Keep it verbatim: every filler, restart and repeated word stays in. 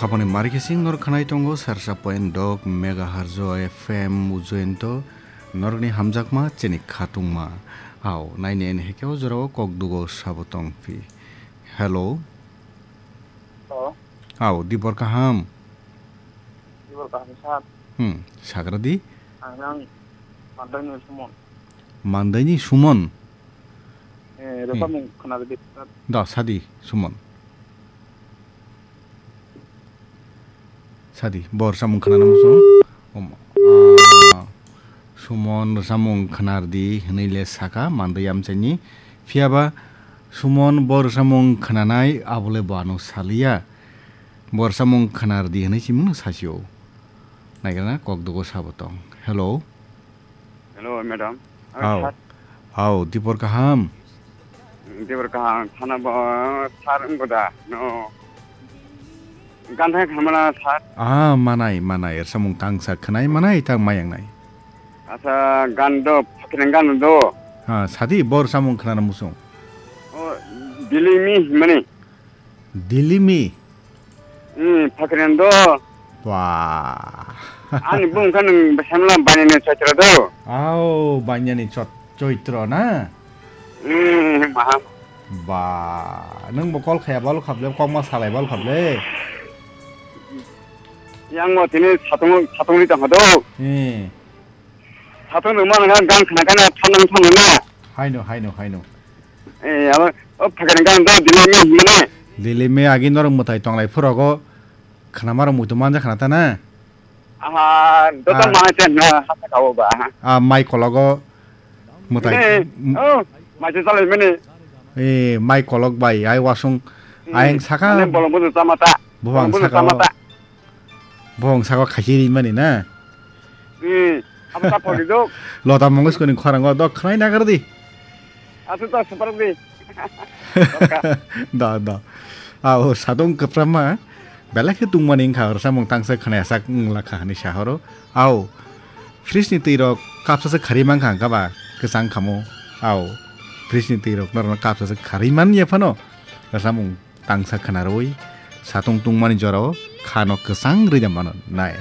Aboni marikising norok khanai tongo sarsa point dok megahertz o F M ujoento norokni hamjakma chini khatungma. Au, naini ani hekeo jorao kok dugo sabo tongphi. Hello. Hello. Au, dibor kaham. Dibor kaham sir. Hmm, sagra di. Ang nang Mandai ni Sumon. Mandai ni Sumon. Eh, Hmm. Rwchapmung khwnarwdi. Da, sadi, Sumon. Sadi, bo rwchapmung khwnana muchung. Om, ah, Sumon rwchapmung khwnardi hwnwi le saka, Mandai amchaini. Phiyaba Sumon bo rwchapmung khwnanai abole bo ano saliya. Bo rwchapmung khwnardi hwnwi simungno sasio. Naigrana kok dugo sabo tong. Hello. Hello, madam. Hao. Sir. Hao, dibor kaham. Dibor kaham, thana bo sir wngbo da, no. Gan thai khamana sir. Ah, manai, manai, rwchapmung tangsa khwnai manai, tang mayang nai. Asa, gan do, phakiran gan do. Ha, sadi, bo rwchapmung khwnana muchung. O, Dilimi, mani. Dilimi? Hmm, phakiran do. Wah. Ani bung kha nwng bwsai mla banyani chaitra do. Au, banyani chot-, choitro na? Hmm, maha. Ba, nwng bo call khaya balu khable, kok ma salai balu khable. Yang mo tini satung, satung ri tong do. Hmm. Satung nwng ma nang gan khna kana thanang thanang na. Haino, haino, haino. Eh, abo, o phakiran gan do, Dilimi, mani. Dilimi agi norok mwtai tonglai phurogo. Khwnama rok muitu manja khna ta na? Aha, joto Ah. Manai chen na hata kao ba. Ah, mai kologo mwtai. Eh, m- oh, mai chen salai mani. Eh, mai kolok bai, ai wasung, Hmm, ayang saka mane bolong bono chama ta. Buphang Bolong bono saka chama o, ta. Buphang saka o khachi ri mani na? Hmm, abo ta pori dok. Lota Mongeskor ni khorang o dok khwnai nagar di. Asa ta super di. Da, da. Au, sadong kwprama. Belai khe tungmani wngkha, rwchapmung tangsa khwnaya sak wng lakha hwnwi sa horo. Au, fridge ni twi rok kapsa se kharwi mankha hwnka ba kwchang khamo. Au, fridge ni twi rok norokno kapsa se kharwi man ya phano. Rwchapmung tangsa khwnarwi satung tungmani jorao khano kwchang rwida mano nai.